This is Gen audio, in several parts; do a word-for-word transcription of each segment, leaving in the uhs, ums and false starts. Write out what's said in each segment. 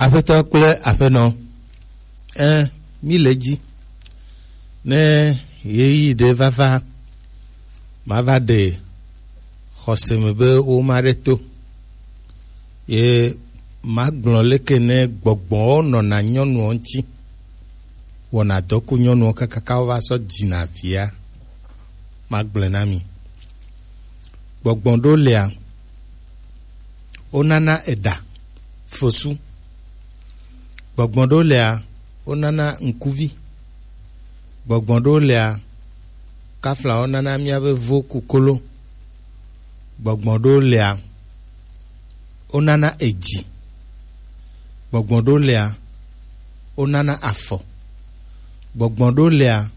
Aƒetɔ kple aƒenɔ, ẽ, mí le dzi. Ne ɣeyiɣi ɖe va va, mava ɖe xɔse me be woma ɖe to. Ye magblɔ leke ne gbɔgbɔwo nɔna nyɔnuwo ŋuti, wɔna dɔ ku nyɔnuwo kakaka wova sɔ dzina via. Magblɔe na mi. Gbɔgbɔ ɖewo lia, wonana eɖa, fosu. Gbɔgbɔ ɖewo lia, wonana ŋkuvi. Gbɔgbɔ ɖewo lia, kafla wonana míabe vo ku kolo. Gbɔgbɔ ɖewo lia, wonana edzi. Gbɔgbɔ ɖewo lia, wonana afɔ. Gbɔgbɔ ɖewo lia,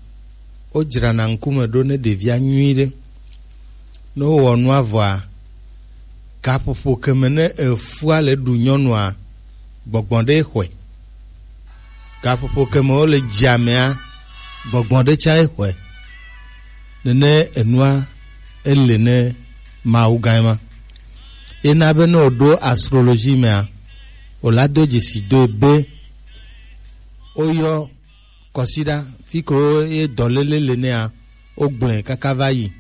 wodzrana ŋkume ɖo ne ɖevia nyuiɖe. Ne wowɔ nua vɔa, gaƒoƒo ke me ne efua le ɖu nyɔnua, gbɔgbɔ ɖe xɔe. Gaƒoƒo ke me wole dzia mea, gbɔgbɔ ɖe tsa xɔe. Nene enua ele ne Mawu gã ma. Ena be ne wòɖo astrologie mea, wòla do dzesi do be woyɔ kɔsiɖa fi ke ye dɔléle le nea, wogblɔe kaka va yi.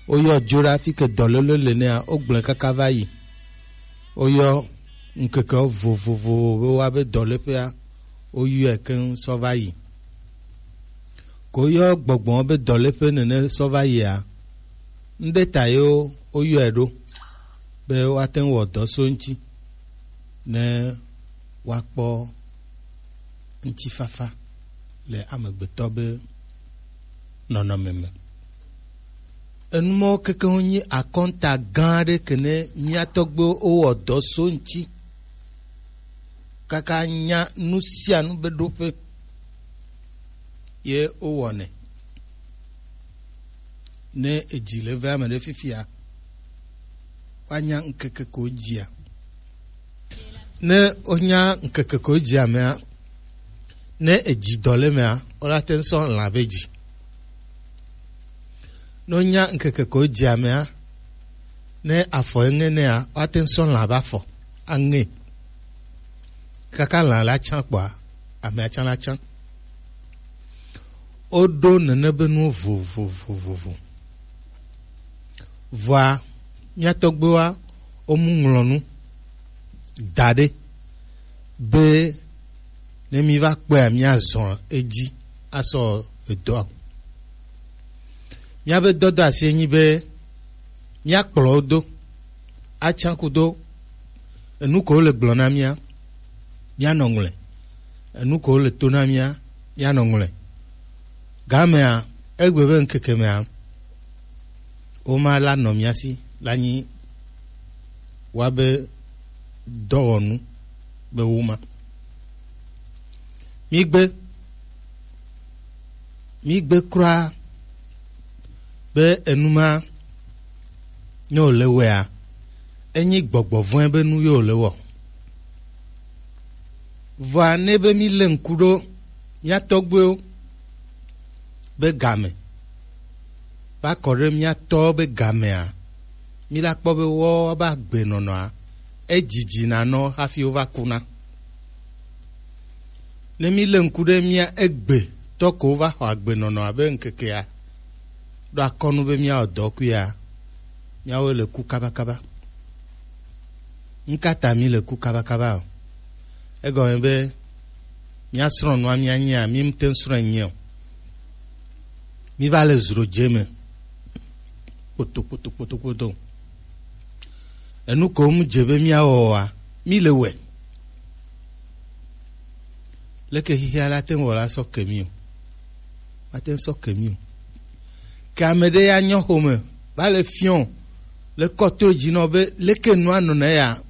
Woyɔ dzoɖa fi ke dɔléle le nea, wogblɔe kaka va yi. Woyɔ ŋkeke vovovowo be woabe dɔléƒea, woyɔe keŋ sɔ va yi. Ko woyɔ gbɔgbɔ be dɔléƒe nene sɔ va yia, ŋɖe ta ye woyɔe ɖo be woate ŋu wɔ dɔ so eŋuti ne woakpɔ ŋutifafa le amegbetɔ be nɔnɔme me. Enu mawo kekeŋ nyi akɔnta gã aɖe ke ne mía tɔgbuiwo wowɔ dɔ so ŋuti kaka nya nu sia nu be ɖoƒe ye wowɔnɛ. Ne edzi le ve ame ɖe fifia, woanya ŋkeke ko dzia. Ne wonya ŋkeke ko dzi amea, ne edzi dɔ le mea, wola te ŋu sɔ lã be dzi. Ne wonya ŋkeke ko dzi amea, ne afɔ eŋe nea, woate ŋu sɔ lã be afɔ aŋe. Kaka lã la tsã kpɔa, amea tsã la tsã. Woɖo nene be nuwo vovovovovo. Vɔa, mía tɔgbuiwoa, womu ŋlɔ nu da ɖe be ne míva kpɔea, míazɔ edzi asɔ edɔa o. Míabe dɔdɔ asi enyi be míakplɔ wo do, atsã kudo enu ko wole gblɔ na mía, míanɔ ŋlɔe. Enu ko wole to na mía, míanɔ ŋlɔe. Gamea, egbe be ŋkeke mea, woma la nɔ mía si, la nyi woabe dɔwɔnu be woma. Mígbe, mígbe kura be enu ma ne wòle wɔea, enyi gbɔgbɔ vɔ̃e be nu ye wòle wɔ. Vɔa ne be mílé ŋku ɖo mía tɔgbuiwo be game, va kɔ ɖe mía tɔwo be gamea, míla kpɔ be woawo be agbenɔnɔa, edzidzi nanɔ hafi wova kuna. Ne mílé ŋku ɖe mía egbe tɔ ko wova xɔ agbenɔnɔ abe ŋkekea, ɖo akɔnu be míawɔ dɔ kuia, míawoe le ku kabakaba. Ŋkata míle ku kabakaba o? Egɔme be míasrɔ̃ nua míanyea, mímte ŋu srɔ̃e nyuie o. Míva le zro dze me kpoto kpoto kpoto kpoto. Enu ko mu dze be míawɔ oa, míle wɔe. Leke xexea la te ŋu wɔ la sɔ ke mí o? Mate ŋu sɔ ke mí o. Ke ame ɖe ya nyɔ xome va le fiɔ le kɔto dzi nɔ be leke nua nɔna ya,